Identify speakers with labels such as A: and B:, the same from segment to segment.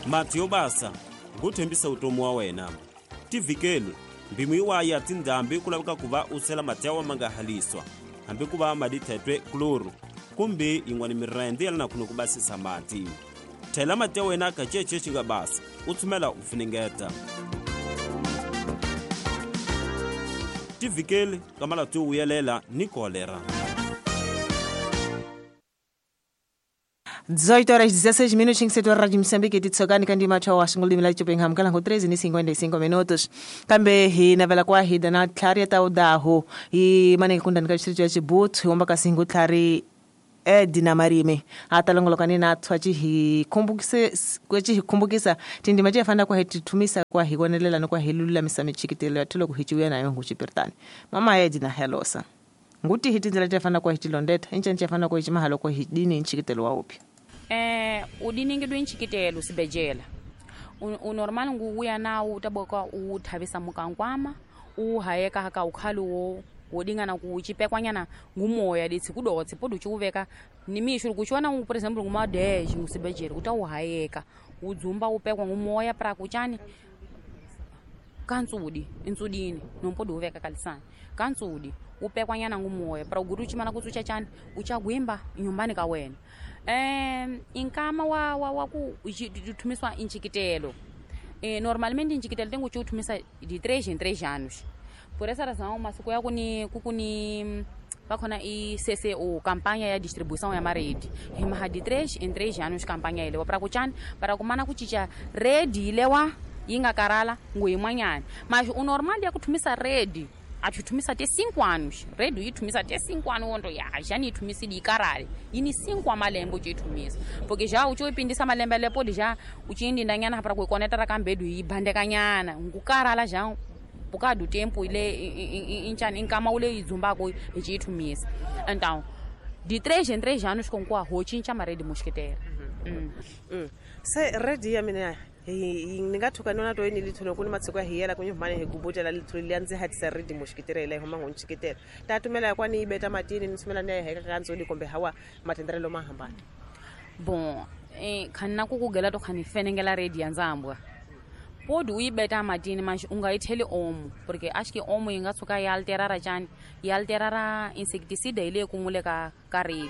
A: Mati yo basa nguthembisa utomi wa wena. Tivhikeli mphimo yiwaya tindhambi ku laveka ku va u sela mati ya wa ma nga haliswa hambi ku va madi thetwe kloro kumbe yin'wana mirende ya lana khune ku basisa mati. Thela mati ya wena ka cece xi nga basa u tshumela u funengeta. Tivhikeli ka malati yo vuyelela ni kolera.
B: 18 horas 16 minutos em setor Rádio Moçambique titsokani kandi macho wa xingulimi la Chopingham kala ngo 13:55 minutos kambe hi navela kwa hi dana tlhari ya taudaho hi mane kundani ka xirho xa Chibutu hi omba ka singu tlhari Edina Marime atalongolokani na thwachi hi khumbukise kwechi hi khumbukisa tindima ti fana kwa hi tithumisa kwa hi konelela no kwa hi lulamisa michikitelo ya thilo ku hi ciuya nayo nguchipirtani mama Edina helosa nguti hi tindlela ti fana kwa hi tilondeta intshentshe fana kwa hi chimahalo kwa hi dini nchikitelo wa uphi.
C: Udiningidwe nchikitelo sibejela unormal nguuya nawo utaboka uthavisa mukankwama uhayeka haka ukhali wodingana kuchipekwanyana ngumoya ditsi kudotse podu chiuveka ni misho kuchiona por exemplo nguma 10 ngusibejela utawuhayeka udzumba upekwa ngumoya pra kuchani kantsudi intsudini nompodu uveka kalisani kantsudi upekwanyana ngumoya pra ugutu chimana kutsucha chani uchagwimba nyumbani ka wena. Inkama wa ku thumiswa inchikitelo. Normalmente inchikitelo tengo chuthumisa de 3 em 3 anos. Por essa razão masiku ya kuni kukuni vakhona i CCO campanha ya distribuição ya maredi himaha de 3 em 3 anos campanha ile para kuchani para kumana kuchicha redi ilewa yinga karala nguyimwanyana mas o normal ya kuthumisa redi achuthumisa te 5 anos redo yithumisa te 5 anos wondo ya já ni thumisa di karale yini 5 amalembe uchithumisa porque já uchoipindisa malembe lepo já uchindindanyana para kuikoneta ra kambedu yibandekanyana ngukarala já bukadu tempo ile inchani inkama ule izumbako ichithumisa. Então de 3 em 3 anos com kwa hochincha maredi mosquiteira.
B: Se redi ya mina ni nga thuka nona to ni litholo ku ni matsiko ya hiyela ku nyumane hi gubutela litholo liya ndzi hatisa redi moxikitela ila huma ngonchikitela ta tumela kwa ni ibeta matini ni sumela ni heka kantsoli kumbe hawa matenderelo ma hambana.
C: Bon khanna ku kugela to khani fenengela redi ya nzambwa podi uyibeta matini manje ungayitheli omo porque acho que omo yi nga tshuka yi alterara chani yi alterara insecticide ile kumule ka redi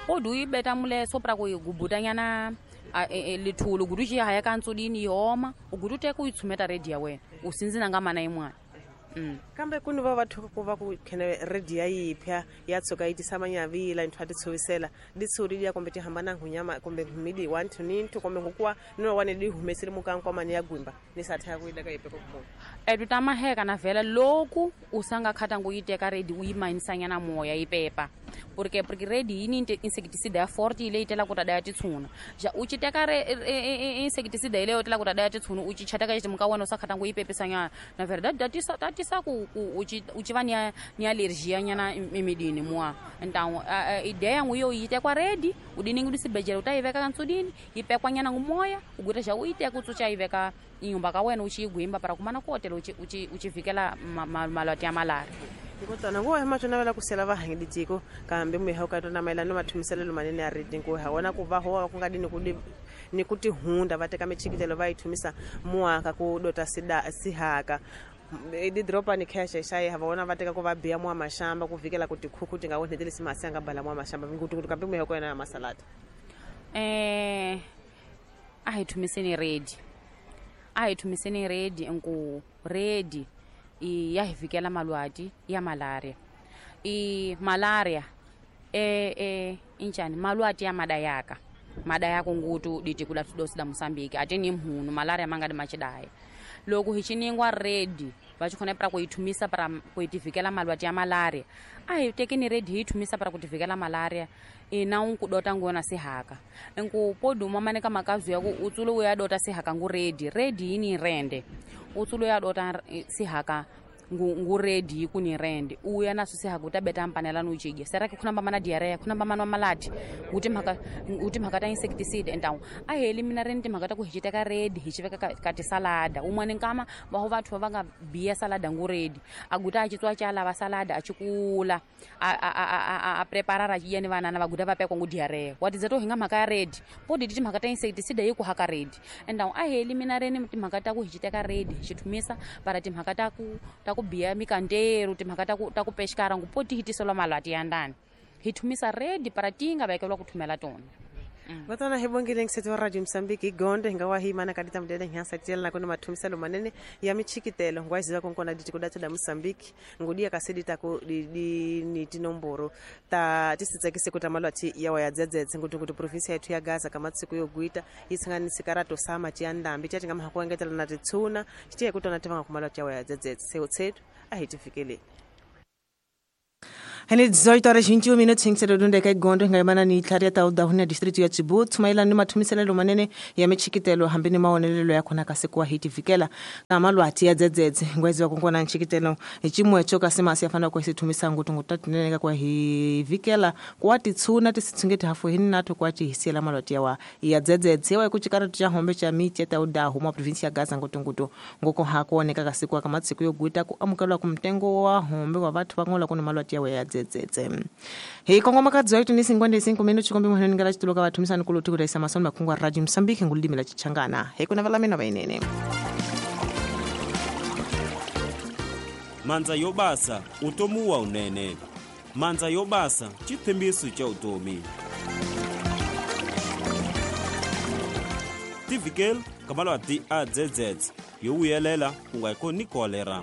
C: podi uyibeta mule so pra ku yi gubutanyana lithulu gudu xi haya ka ntsudini yi oma ugudu teka u yi tshumeta redi ya wena u sindzina nga mana yin'wana.
B: Kambe ku ni va va thuka ku va ku khene redi ya yiphya ya tshuka yi tisa manyavila nthu a ti tshovisela ditshuri liya kumbe ti hambana nghunyama kumbe midi 1 to 9 kumbe ngukuwa no wane di humesile mukankwamani ya gwimba ni satha ku ileka yipeko ku
C: etu ta maheka na vhela loku u sanga khata ngu yi teka redi u yi manisanyana moya yi pepa porque redi yini insecticide ya forte ile itela ku ta daya titshuna ja u chi teka insecticide ile yotela ku ta daya titshuna u chi chataka xi muka wena u sa khata ngu yi pepisanyana na verdade ta tisa ku u chi va ni alergia nyana emidini mwa. Então a ideia ngu yo yi tekwa redi u diningi du sibejela u ta yi veka ka ntsudini yi pekwa nyana ngu moya u guta xa u yi teka u tsucha yi veka inyumba ka wena u chi gwimba para kumana kotela u chi vikela malwati ya malaria.
B: Ngotana ngo hema tsona vela kusela va hangi ditiko kambe muhe ka tona maelana mathumiselelo manene ya redi ngo ha wona ku va ho ku nga dini ku ni ku tihunda va teka michikitelo va yi thumisa muaka ku dota sida sihaka di dropa ni cash xa ha vona va teka ku va biya mwa mashamba ku vikela ku tikhuku ti nga onhetelisi masi nga bala mwa mashamba ngutu kambe muhe ko yena ya masalata.
C: A hi thumiseni redi a hi thumiseni redi nku redi ya hi vikela malwati ya malaria i malaria inchani malwati ya madayaka madayaka ngutu ditikula tudosi da Mosambiki ateni mhunu malaria mangadi machidaya loko hi chiningwa redi va chikhona pra ku yi thumisa pra ku yi tivikela malwati ya malaria a hi tekeni redi hi yi thumisa pra ku tivikela malaria ina u ku dota ngona sihaka nku poduma maneka makazu ya ku utsulu ya dota sihaka ngu redi redi yini rende utsulu ya dota sihaka Ngu ready yi ku ni rende u ya na swisi haku ta beta mpanela no jige sera ke khona ba mana diarrhea khona ba mana malati u timhaka ta insecticide entawu a heli mina reni timhaka ta ku hi ci teka ready hi ci veka ka tisalada un'wana nkama va ho vathu va nga biya salada ngu ready a guta a ci tswa cha lava salada a ci kula a prepara ra yena vanana va guta va pekwa ngu diarrhea wa tidza to hi nga mhaka ya ready po di timhaka ta insecticide yi ku haka ready entawu a heli mina reni timhaka ta ku hi ci teka ready hi ci thumisa para timhaka ta ku biya mikanteru timhaka ta ku pexikara ngu po ti hitiselwa malwati ya ndani hi thumisa ready para ti nga vekelwa ku thumela tona.
B: Vatana hi vongile ngiseti wa Radio Mozambique igonde hinga wa himana kadita mudede nyansa tiela na kuna mathumiselo manene ya michikitelo ngwaziwa konkona ditiko datu da Mozambique ngudia kasedi tako di ni tinomboro ta tisitsekise kuti malwati yawa ya dzedzedze nguti provinsi yetu ya Gaza kamatsiku yoguita itsanganisi karato sama chiyandambi chati ngama hakuengetela na titsuna chitiye kutona tivanga kumalwati yawa ya dzedzedze seutsetu ahitifikeleni. Hene 18 horas 21 minutos 5 dunde ka gondo ngaimana ni tlharia ta udahuna district ya Chibut mailani mathumiselelo manene ya michikitelo hambini maonelelo ya khona kasi kwa hitifikela na malwati ya dzedzedze ngwezi wa konkona nchikitelo chimwe cho kasi masi afana kwa sithumisa ngutu ngutatinene kwa hivikela kwa titsuna tisitsungeti hafu hini nathu kwa chihisiela malwati yawa ya dzedzedze wa kuchikara cha hombe cha miti ta udahu mwa province ya Gaza ngutu ngoko hakuoneka kasi kwa kamatsiku yoguita ku amukelwa kumtengo wa hombe wa vathu vangola kuna malwati yawa ya dzedzedze. Hi kongoma ka 18:55 minutos chikombe muhene ngala chituloka vathumisani kuluthi kutaisa masoni makhungu a Radio Mozambique ngululimi la Chichangana. Hi kuna vala mina vainene.
A: Mandza yo basa utomi wa unene. Mandza yo basa chithembiso cha utomi. Tivikel kamalwati a dzedzedze yo vuyelela ku nga koni kolera.